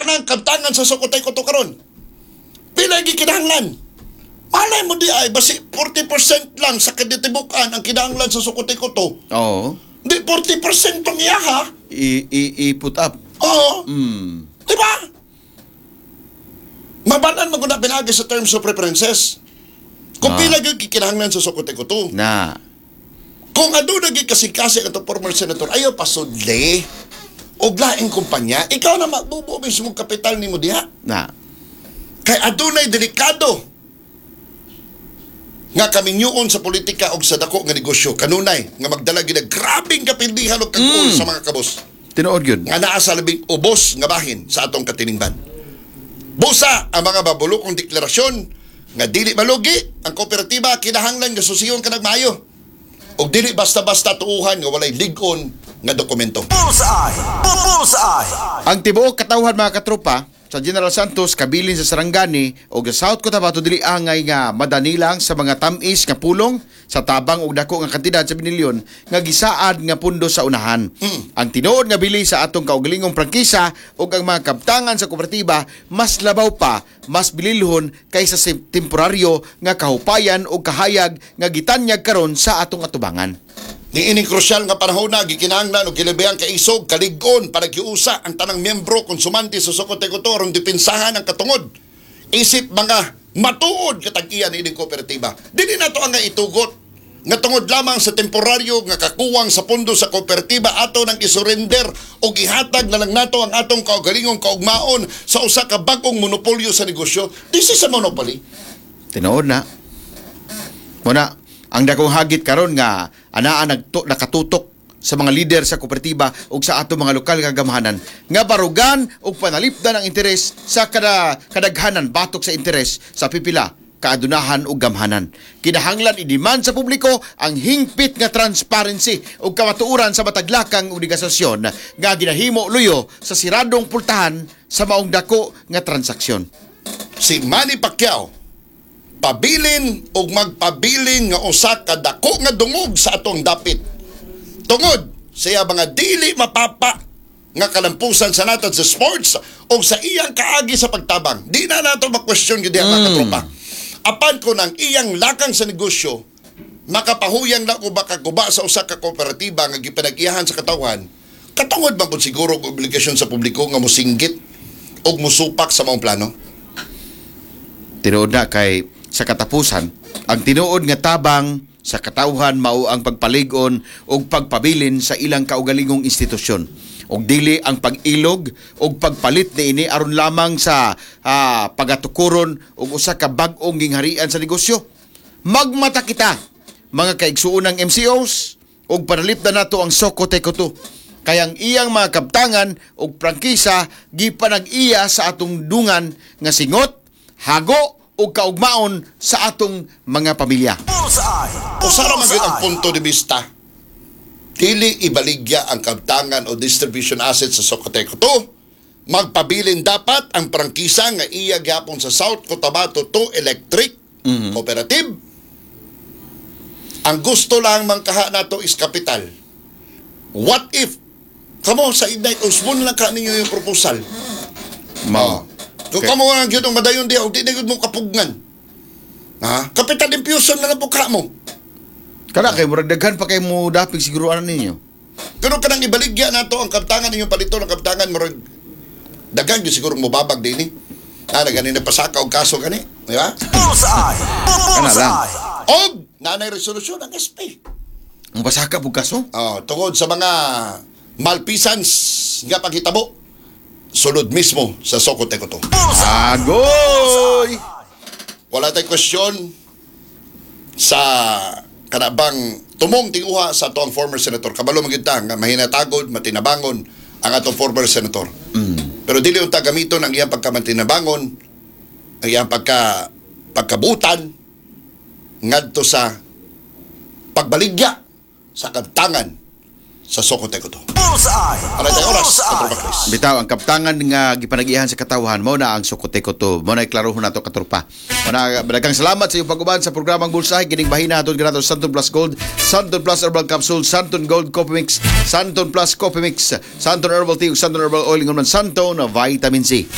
Tanang kabtangan sa Socoteco 2 karon? Pila gikinahanglan? Malay mo diay, basi 40% lang sa kaditibukan ang kinahanglan sa Socoteco 2. Di 40% pang iya ha? I put up. Oo. Di ba? Mabalan mo na pinagi sa terms of preferences. Kung pila gyud gikinahanglan sa Socoteco 2. Na. Kung aduna gyud kasing-kasing atong former senator, ayaw pasudli og laing kumpanya, ikaw na magbubuo mismo kapital nimo diha. Na. Kay adunay delikado nga kaminyuon sa politika og sa dako nga negosyo kanunay nga magdala gid og grabeng kapildihan og kag-ol sa mga kabos Tinuod yun. Nga naa sa labing ubos nga bahin sa atong katilingban. Busa ang mga babulokong deklarasyon nga dili malugi ang kooperatiba, kinahanglan nga susiyon kanang maayo og dili basta-basta tuuhan nga walay lig-on nga dokumento. Bullseye! Bullseye! Ang tibuok katawhan, mga katropa, sa General Santos, kabilin sa Sarangani o sa South Cotabato, dili angay nga madanilang sa mga tamis nga pulong sa tabang og dako nga kantidad sa binilyon nga gisaad nga pundo sa unahan. Ang tinuod nga bili sa atong kaugalingong prangkisa ug ang mga kabtangan sa kooperatiba mas labaw pa, mas bililhon kaysa sa temporaryo nga kahupayan o kahayag nga gitanyag karon sa atong atubangan. Niining krusyal nga panahon na gikinahanglan og kilabihang kaisog, kalig-on para giusa ang tanang miyembro konsumante sa Socoteco 2 aron depensahan ang katungod. Isip mga matuod katag-iya niining kooperatiba. Dili nato ang nga itugot nga tungod lamang sa temporaryo nga kakuwang sa pondo sa kooperatiba, ato nang isurrender o gihatag na lang nato ang atong kaugalingong kaugmaon sa usa ka bag-ong monopolyo sa negosyo. This is a monopoly. Tinuod na. Muna, ang dakong hagit karon nga anaa nakatutok sa mga lider sa kooperatiba ug sa ato mga lokal nga gamhanan nga barugan ug panalipdan ang interes sa kadaghanan batok sa interes sa pipila kaadunahan ug gamhanan. Kinahanglan i-demand sa publiko ang hingpit nga transparency ug kamatuoran sa matag lakang ug negosyasyon nga ginahimo luyo sa siradong pultahan sa maong dako nga transaksyon. Si Manny Pacquiao pabilin og magpabilin nga usa ka dako nga dungog sa atong dapit tungod sa iya mga dili mapapa nga kalampusan sa natad sa sports o sa iyang kaagi sa pagtabang. Di na nato ma-question gyud diha, mga katropa. Apan kung ang iyang lakang sa negosyo makapahuyang na o makaguba sa usa ka kooperatiba nga gipanag-iyahan sa katawhan, katungod man pud siguro og obligasyon sa publiko nga mosinggit og musupak sa maong plano. Tinuod na, kay sa katapusan, ang tinuod nga tabang sa katawhan mao ang pagpalig-on ug pagpabilin sa ilang kaugalingong institusyon ug dili ang pag-ilog ug pagpalit niini aron lamang sa pagatukuron ug usa ka bag-ong gingharian sa negosyo. Magmata kita, mga kaigsuonang MCOs, ug panalipdan nato ang Socoteco 2 kay ang iyang mga kabtangan ug prangkisa gipanag-iya sa atong dungan nga singot, hago ug kaugmaon sa atong mga pamilya. Bullseye! Usa ra man gyud ang punto de vista. Dili ibaligya ang kabtangan o distribution assets sa Socoteco 2. Magpabilin dapat ang prangkisa nga iya gyapon sa South Cotabato 2 Electric Cooperative. Ang gusto lang mangkaha nato is kapital. What if kamo sa Ignite usbon lang ka ninyo yung proposal? Mao. Kung kamo nga gyud ang madayon diha, og di na gyud mo kapugnan. Ha? Capital infusion na lang po ka mo. Kana kay murag daghan pa kay mo dapig siguro ana ninyo. Pero kanang ibaligya nato ang kaptangan ninyong palito ng kaptangan, murag daghan gyud siguro mobabag dinhi. Ah, na gani na pasaka og kaso gani, di ba? Bullseye! Kana lang. Bullseye! Og nanay resolusyon ang SP. Ang pasaka pug kaso. Oh, tungod sa mga malfeasance nga paghitabo sulod mismo sa Socoteco 2. Agoy! Wala tay question sa kanabang tumong tinguha sa ato ang former senator. Kabalo man gyud ta nga mahinatagod, matinabangon ang atong former senator. Pero dili unta gamiton ang iyang pagkamantinabangon, ang iyang pagkabutan ngadto sa pagbaligya sa kabtangan sa Socoteco 2. Bullseye! Aray tayo oras, Katropa Chris. Bitaw ang kaptangan nga gipanag-iyahan sa katawhan mao na ang Socoteco 2. Mao na klarohon nato, katropa. Mao na, daghang salamat sa iyong pag-uban sa programang Bullseye kining bahina hatod kanato Santon Plus Gold, Santon Plus Herbal Capsule, Santon Gold Coffee Mix, Santon Plus Coffee Mix, Santon Herbal Tea ug Santon Herbal Oil, ingon man Santon Vitamin C.